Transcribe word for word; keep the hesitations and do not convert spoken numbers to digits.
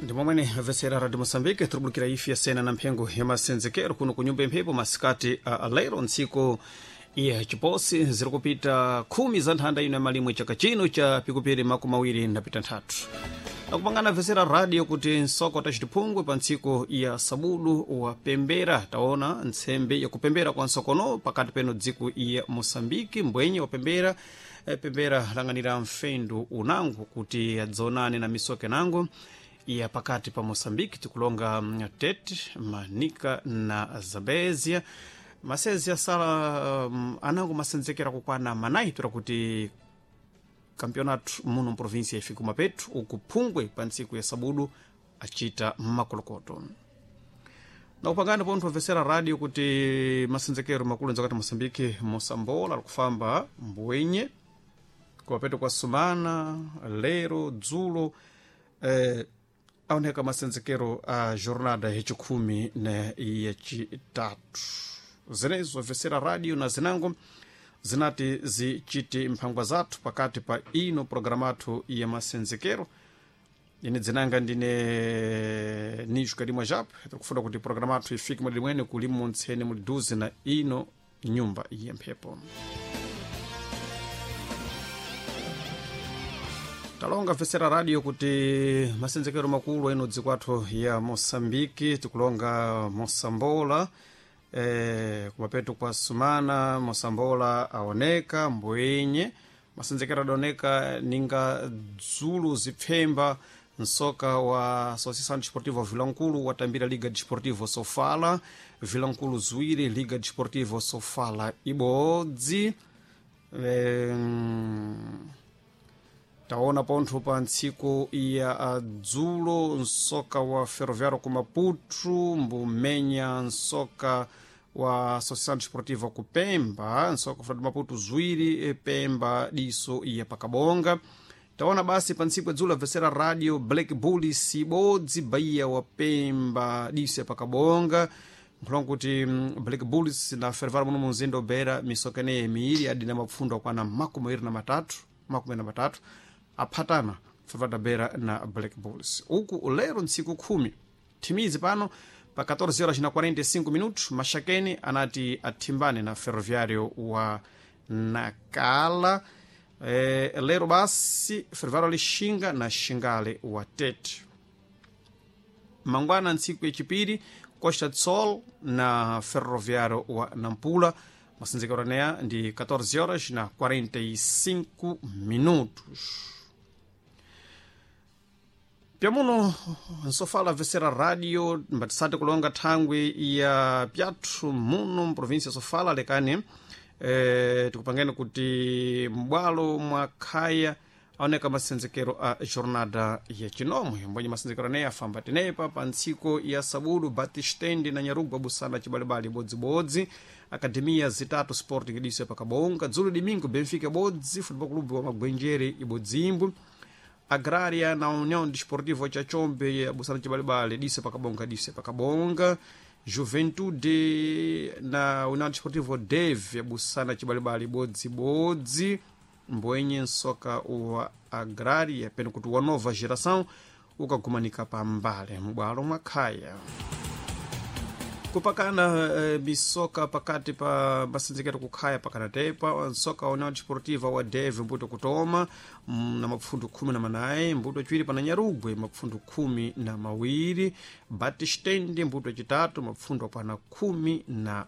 Ndi momwene vesera Radio Moçambique, tiribulukira ifi yasena na mphengo ya masenzekero kuno ku nyumba imphepo masikati a lero, ntsiku ya chiposi ziri kupita khumi za nthanda ino ya malimwe chaka chino cha pikupiri makumi awiri napita nthatu. Nakupangana vesera radio kuti nsoko tacitiphungwe pa ntsiku ya sabudu wa pembera. Taona ntsembe yakupembera kwa nsokono pakati peno dziko ya Moçambique, mbwenye wapembera eh, pembera lang'anira mfendu unango kuti adzonane na misoke nango ya pakati pa Moçambique, tikulonga mm, Tete, Manika na Zambezia. Masezi asala um, anango masenzekera kukwana manayi tura kuti campeonato muno mprovinsia ifika mapetu uku phungwe pa ntsiku ya sabudu acita makolokoto. Nakupangana pontho obvesera radio kuti masenzekero makulu nzakati Moçambique, Moçambola alikufamba mbwenye kumapeto kwa sumana lero dzulo eh, aoneka masenzekero a jornada yachikhumi na yachitatu. Zenezo obvesera radio na zinango zinati zichite mphangwa zathu pakati pa ino programathu ya masenzekero. Ine dzinanga ndine Nijo Kalimwa Jap, tikufuna kuti programathu ifike mwadi mwene kulimu ntsene muli duze na ino nyumba ya mphepo. Talonga vesera radio kuti masenzekero makulu eno dziko athu ya Moçambique, tikulonga Moçambola eh, kumapeto kwa sumana Moçambola aoneka mbwenye masenzekero adaoneka ninga dzulu zipfemba nsoka wa Associação Desportiva Vilankulu watambira Liga Desportiva Sofala, Vilankulu ziwiri, Liga Desportiva Sofala ibodzi. eh, taona pontho pa ntsiku ya dzulo nsoka wa Ferroviário ku Maputo mbumenya nsoka wa Associação Desportiva ku Pemba, nsoka wa Maputo ziwiri, Pemba diso ya pakabonga. Taona basi pa ntsiku ya dzulo avesera radio Black Bulls ibodzi, Bahia wa Pemba diso ya pakabonga. Nkhulonga kuti mm, Black Bulls na Ferroviário muno munzinda obera misoka ineyi miiri adina mapfundo akwana makumi awiri na matatu, makumi na matatu aphatana Ferroviário da Beira na Black Bulls. Uku lero ntsiku khumi thimizi pano pa catorze horas na quarenta e cinco minutos Maxakeni anati athimbane na Ferroviário wa Nacala. Eh, lero basi Ferroviário lixinga na Xingale wa Tete. Mangwana ntsiku yachipiri Costa do Sol na Ferroviário wa Nampula, masenzekero aneya ndi catorze horas na quarenta e cinco minutos. Pyamuno nsofala vesera radio mbatisati kulonga thangwi ya pyathu muno mprovinsia Sofala lekani eh, tikupangeni kuti m'bwalo mwa khaya aoneka masenzekero a jornada ya chinomwe mbwenye masenzekero aneyi afamba tenepa pa ntsiko ya sabudu Batistende na Nyarugwa busana chibalibali bodzibodzi, Akademia zitatu Sporting diso pakabonga. Dzulo domingo Benfica bodzi, Futebol Clube wa Magwenjere ibodzimbu, Agraria na União Desportiva cha Chombe busana chibalibali diso pakabonga, diso pakabonga. Juventude na União Desportiva Deve busana chibalibali bodzibodzi, mbwenye nsoka wa Agraria peno kuti wa nova geração ukagumanika pambale m'bwalo mwa khaya. Kupakana eh, misoka pakati pa masenzekero kukhaya pakanatepa nsoka wa União Desportiva wa Deve mbuto kutoma mm, na mapfundu khumi na manayi, mbuto chiwiri pana Nyarugwe mapfundu khumi na mawiri, Batistende mbuto chitatu mapfundu akwana khumi na